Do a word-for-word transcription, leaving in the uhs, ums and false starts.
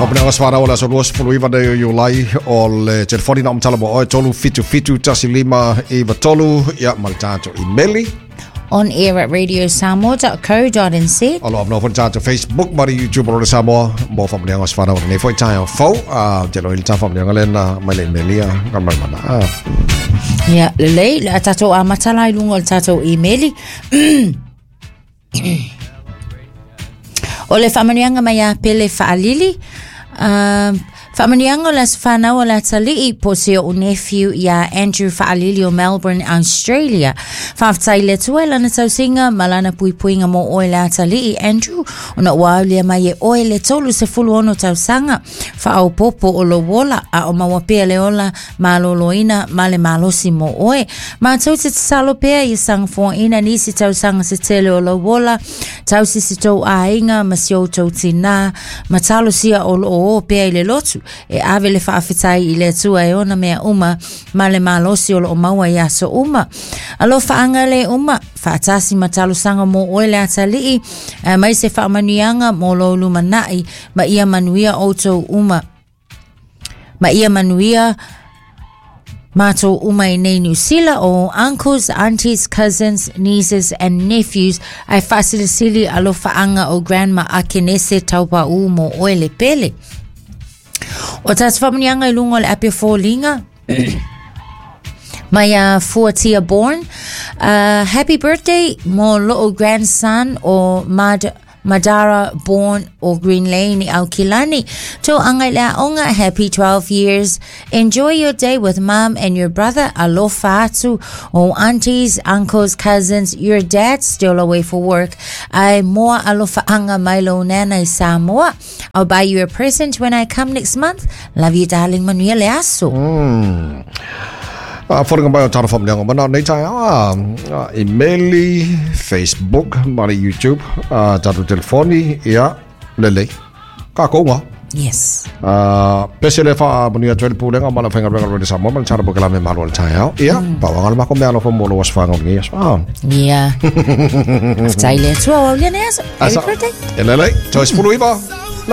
Wapane o swara o la so luas fulu iwa nei o Iulai o le telefoni na umtala mo oe tolu fitu fitu tasi lima iwa tolu ia ma le tatou imeli on air at radio samoa dot co dot n z. O lo avanoa foi le tatou Facebook ma le YouTube o le Samoa mo whapaneanga o swara o nei foi tae o fau. Te lo i le tā whapaneanga lena mai le imelia ka mai mana. Ia, lelei, le a tatou amata i lunga o le tatou imeli. O le whaamanuianga mai a Pele Faalili. Uh, whaamanuianga o le aso whanau o le atalii po se o nephew ia Andrew Faalili o Melbourne, Australia. Whaaftai le tua lana tausinga ma lana puipuinga mo oe le atalii Andrew. Ona ua aulia mai e oe le tolu se fulu ono tausanga. Whaaupopo o lo wola a o mawapea le ola maloloina ma le malosi mo oe. Mātou te tsalo pea i sanga fōina nisi tausanga se tele o lo wola. Tausi si tau ainga ma si o tau tina. Matalo sia o lo o pea i le lotu. E ave le whaafetai i le atua e ona mea uma ma le malosi o lo o maua i aso uma. Alofa anga le uma, whaatasi matalosanga mo oe le atalii, mai se whaamanuianga mo lo lumanai, ma ia manuia o tau uma. Ma ia manuia mātou uma i nei New Zealand o uncles, aunties, cousins, nieces and nephews ai whaasilisili alofa anga o grandma Akenese taupa u mo oe le pele. O tātou whaamanuianga i lunga o le ape fōlinga mai a Fuatia Born. Uh, happy birthday mo lo'o grandson o Mad Madara Born o Green Lane i Aukilani. Tō anga i le aonga, happy twelve years. Enjoy your day with mum and your brother. Alofa atu o aunties, uncles, cousins. Your dad's still away for work. Ai moa alofa anga mai lo nana i Samoa. I'll buy you a present when I come next month. Love you, darling. Manuia le aso. Mm. Uh, Wharinga mai o tāna whaamanuianga mana nei tae a emaili, Facebook, ma le YouTube, uh, tātou telefoni, ia, lelei, ka kounga. Yes. Uh, pese le whaamanuia atu e le pūlenga, mana whainga renga rene Samoa, mana tāna poke la me malo le tae au. Ia, mm. Pawanga le mako mea alofa mo lo waswanga o ngi aso. Ah. Ia. Aftai le atua o au lia nei aso. Happy birthday. E lelei, toi sefulu iwa.